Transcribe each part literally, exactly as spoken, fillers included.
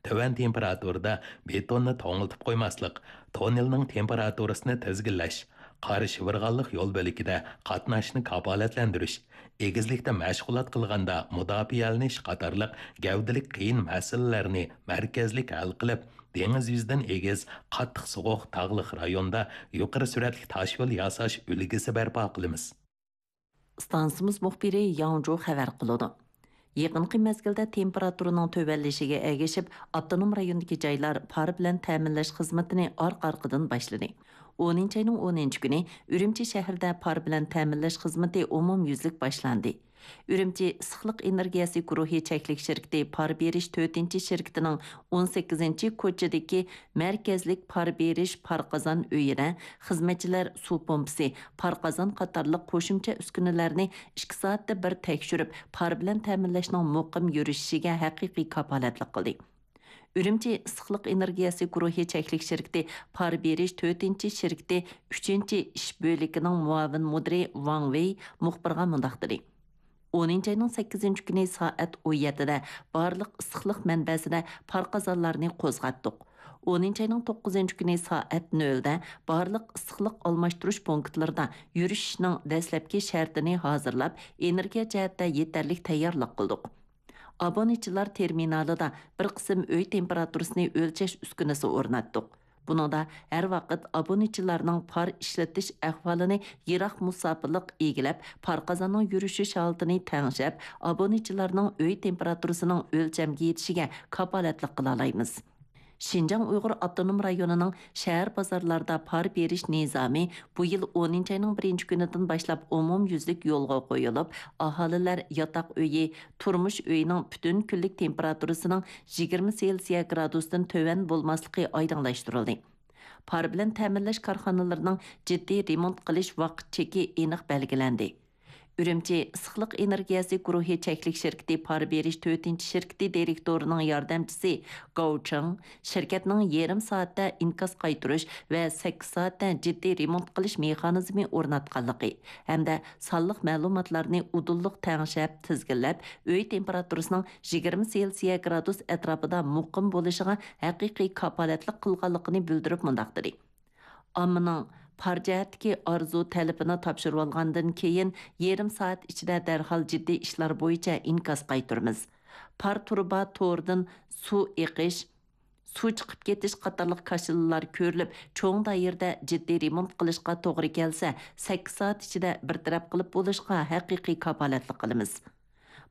تۆۋەن تېمپېراتۇرىدا بېتوننى توڭلىتىپ قويماسلىق، توننېلنىڭ تېمپېراتۇرىسىنى تىزگىنلەش، قارا شىۋىرغانلىق يول بۆلىكىدە قاتناشنى كاپالەتلەندۈرۈش، ئېگىزلىكتە مەشغۇلات قىلغاندا مۇداپىئەلىنىش قاتارلىق گەۋدىلىك قىيىن مەسىلىلەرنى مەركەزلىك ھەل قىلىپ، دېڭىز يۈزىدىن ئېگىز، قاتتىق سوغۇق تاغلىق رايوندا يۇقىرى سۈرئەتلىك تاشيول ياساش ئۈلگىسى بەرپا قىلىمىز. ئىستانسىمىز مۇخبىرى ياڭجۇ خەۋەر قىلىدۇ. يېقىنقى مەزگىلدە تېمپېراتۇرىنىڭ تۆۋەنلىشىگە ئەگىشىپ، ئاپتونوم رايوندىكى جايلار پار بىلەن تەمىنلەش خىزمىتىنى ئارقا-ئارقىدىن باشلىدى. ئونىنچى ئاينىڭ ئونىنچى كۈنى ئۈرۈمچى شەھىرىدە پار بىلەن تەمىنلەش خىزمىتى ئومۇميۈزلۈك باشلاندى. ئۈرۈمچى ئىسسىقلىق ئېنېرگىيەسى گۇرۇھى چەكلىك شىركىتى پار بېرىش تۆتىنچى شىركىتىنىڭ ئون سەككىزىنچى كوچىدىكى مەركەزلىك پار بېرىش پار قازان ئۆيىدە خىزمەتچىلەر سۇ پومپىسى، پار قازان قاتارلىق قوشۇمچە ئۈسكۈنىلەرنى ئىككى سائەتتە بىر تەكشۈرۈپ، پار بىلەن تەمىنلەشنىڭ مۇقىم يۈرۈشۈشىگە ھەقىقىي كاپالەتلىك قىلدى. ئۈرۈمچى ئىسسىقلىق ئېنېرگىيەسى گۇرۇھى چەكلىك شىركىتى پار بېرىش تۆتىنچى شىركىتى ئۈچىنچى ئىش بۆلىكىنىڭ مۇئاۋىن مۇدىرى ۋاڭ ۋېي مۇخبىرغا مۇنداق دېدى: ئونىنچى ئاينىڭ سەككىزىنچى كۈنى سائەت ئون يەتتىدە بارلىق ئىسسىقلىق مەنبەسىدە پار قازانلارنى قوزغاتتۇق. ئونىنچى ئاينىڭ توققۇزىنچى كۈنى سائەت نۆلدە بارلىق ئىسسىقلىق ئالماشتۇرۇش پونكىتلىرىدا يۈرۈشۈشنىڭ دەسلەپكى شەرتىنى ھازىرلاپ، ئېنېرگىيە جەھەتتە يېتەرلىك تەييارلىق قىلدۇق. ئابونېنتچىلار تېرمىنالىدا بىر قىسىم ئۆي تېمپېراتۇرىسىنى ئۆلچەش ئۈسكۈنىسى ئورناتتۇق. بۇنىڭدا ھەر ۋاقىت ئابونېنتچىلارنىڭ پار ئىشلىتىش ئەھۋالىنى يىراق مۇساپىلىق ئىگىلەپ، پار قازاننىڭ يۈرۈشۈش ھالىتىنى تەڭشەپ، ئابونېنتچىلارنىڭ ئۆي تېمپېراتۇرىسىنىڭ ئۆلچەمگە يېتىشىگە كاپالەتلىك قىلالايمىز. شىنجاڭ ئۇيغۇر ئاپتونوم رايونىنىڭ شەھەر بازارلاردا پار بېرىش نىزامى بۇ يىل ئونىنچى ئاينىڭ بىرىنچى كۈنىدىن باشلاپ ئومۇميۈزلۈك يولغا قويۇلۇپ، ئاھالىلەر ياتاق ئۆيى، تۇرمۇش ئۆيىنىڭ پۈتۈن كۈنلۈك تېمپېراتۇرىسىنىڭ يىگىرمە سېلسىيە گرادۇستىن تۆۋەن بولماسلىقى ئايدىڭلاشتۇرۇلدى. پار بىلەن تەمىنلەش كارخانىلىرىنىڭ جىددىي رېمونت قىلىش ۋاقىت چېكى ئېنىق بەلگىلەندى. ئۈرۈمچى ئىسسىقلىق ئېنېرگىيەسى گۇرۇھى چەكلىك شىركىتى پار بېرىش تۆتىنچى شىركىتى دىرېكتورىنىڭ ياردەمچىسى گاۋ چېڭ شىركەتنىڭ يېرىم سائەتتە ئىنكاس قايتۇرۇش ۋە سەككىز سائەتتە جىددىي رېمونت قىلىش مېخانىزمى ئورناتقانلىقى ھەمدە سانلىق مەلۇماتلارنى ئۇدۇللۇق تەڭشەپ، تىزگىنلەپ، ئۆي تېمپېراتۇرىسىنىڭ يىگىرمە سېلسىيە گرادۇس ئەتراپىدا مۇقىم بولۇشىغا ھەقىقىي كاپالەتلىك قىلغانلىقىنى بىلدۈرۈپ مۇنداق دېدى: ئاممىنىڭ پار جەھەتتىكى ئارزۇ تەلىپىنى تاپشۇرۇۋالغاندىن كېيىن، يېرىم سائەت ئىچىدە دەرھال جىددىي ئىشلار بويىچە ئىنكاس قايتۇرىمىز. پار تۇرۇبا تورىدىن سۇ ئېقىش، سۇ چىقىپ كېتىش قاتارلىق كاشىلىلار كۆرۈلۈپ، چوڭ دائىرىدە جىددىي رېمونت قىلىشقا توغرا كەلسە، سەككىز سائەت ئىچىدە بىر تەرەپ قىلىپ بولۇشقا ھەقىقىي كاپالەتلىك قىلىمىز.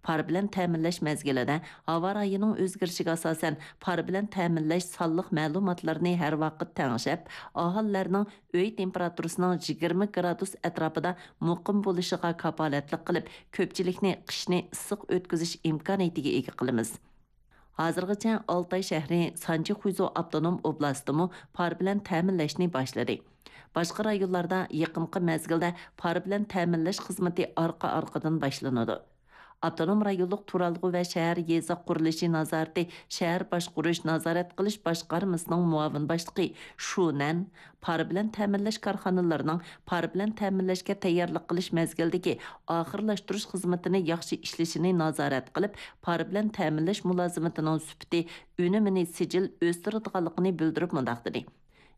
پار بىلەن تەمىنلەش مەزگىلىدە ھاۋا رايىنىڭ ئۆزگىرىشىگە ئاساسەن، پار بىلەن تەمىنلەش سانلىق مەلۇماتلىرىنى ھەر ۋاقىت تەڭشەپ، ئاھالىلەرنىڭ ئۆي تېمپېراتۇرىسىنىڭ يىگىرمە گرادۇس ئەتراپىدا مۇقىم بولۇشىغا كاپالەتلىك قىلىپ، كۆپچىلىكنى قىشنى ئىسسىق ئۆتكۈزۈش ئىمكانىيىتىگە ئىگە قىلىمىز. ھازىرغىچە ئالتاي شەھىرى سانجى خۇيزۇ ئاپتونوم ئوبلاستىمۇ پار بىلەن تەمىنلەشنى باشلىدى. باشقا رايونلاردا يېقىنقى مەزگىلدە پار بىلەن تەمىنلەش خىزمىتى ئارقا-ئارقىدىن باشلىنىدۇ. ئاپتونوم رايونلۇق تۇرالغۇ ۋە شەھەر يېزا قۇرۇلۇشى نازارىتى شەھەر باشقۇرۇش نازارەت قىلىش باشقارمىسىنىڭ مۇئاۋىن باشلىقى شۇ نەن پار بىلەن تەمىنلەش كارخانىلىرىنىڭ پار بىلەن تەمىنلەشكە تەييارلىق قىلىش مەزگىلىدىكى ئاخىرلاشتۇرۇش خىزمىتىنى ياخشى ئىشلىشىنى نازارەت قىلىپ، پار بىلەن تەمىنلەش مۇلازىمىتىنىڭ سۈپىتى، ئۈنۈمىنى سىجىل ئۆستۈرىدىغانلىقىنى بىلدۈرۈپ مۇنداق دېدى: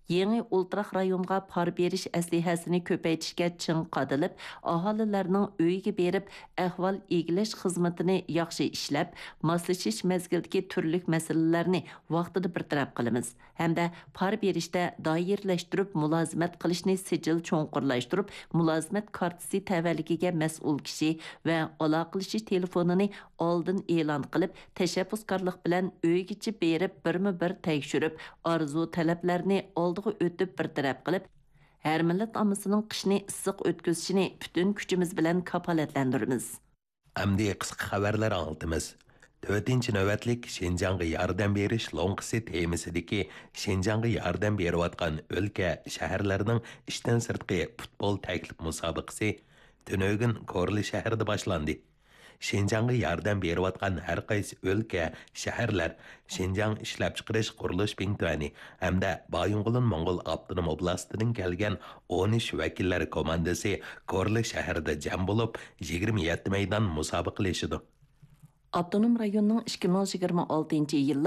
يېڭى ئولتۇراق رايونغا پار بېرىش ئەسلىھەسىنى كۆپەيتىشكە چىڭ قادىلىپ، ئاھالىلەرنىڭ ئۆيىگە بېرىپ ئەھۋال ئىگىلەش خىزمىتىنى ياخشى ئىشلەپ، ماسلىشىش مەزگىلىدىكى تۈرلۈك مەسىلىلەرنى ۋاقتىدا بىر تەرەپ قىلىمىز ھەمدە پار بېرىشتە دائىرىلەشتۈرۈپ مۇلازىمەت قىلىشنى سىجىل چوڭقۇرلاشتۇرۇپ، مۇلازىمەت كارتىسى تەۋەلىكىگە مەسئۇل كىشى ۋە ئالاقىلىشىش تېلېفونىنى ئالدىن ئېلان قىلىپ، تەشەببۇسكارلىق بىلەن ئۆيگىچە بېرىپ بىرمۇ بىر تەكشۈرۈپ، ئارزۇ تەلەپلەرنى ئالدىغا ئۆتۈپ بىر تەرەپ قىلىپ، ھەر مىللەت ئاممىسىنىڭ قىشنى ئىسسىق ئۆتكۈزۈشىنى پۈتۈن كۈچىمىز بىلەن كاپالەتلەندۈرىمىز. ئەمدى قىسقا خەۋەرلەر ئاڭلىتىمىز. تۆتىنچى نۆۋەتلىك شىنجاڭغا ياردەم بېرىش لوڭقىسى تېمىسىدىكى شىنجاڭغا ياردەم بېرىۋاتقان ئۆلكە، شەھەرلەرنىڭ ئىشتىن سىرتقى پۇتبول تەكلىپ مۇسابىقىسى تۈنۈگۈن كورلا شەھىرىدە باشلاندى. شىنجاڭغا ياردەم بېرىۋاتقان ھەر قايسى ئۆلكە، شەھەرلەر، شىنجاڭ ئىشلەپچىقىرىش قۇرۇلۇش بىڭتۈەنى ھەمدە بايىنغولىن موڭغۇل ئاپتونوم ئوبلاستىدىن كەلگەن ئون ئۈچ ۋەكىللەر كوماندىسى كورلا شەھىرىدە جەم بولۇپ، يىگىرمە يەتتە مەيدان مۇسابىقىلىشىدۇ. ئاپتونوم رايوننىڭ ئىككى مىڭ يىگىرمە ئالتىنچى يىللىق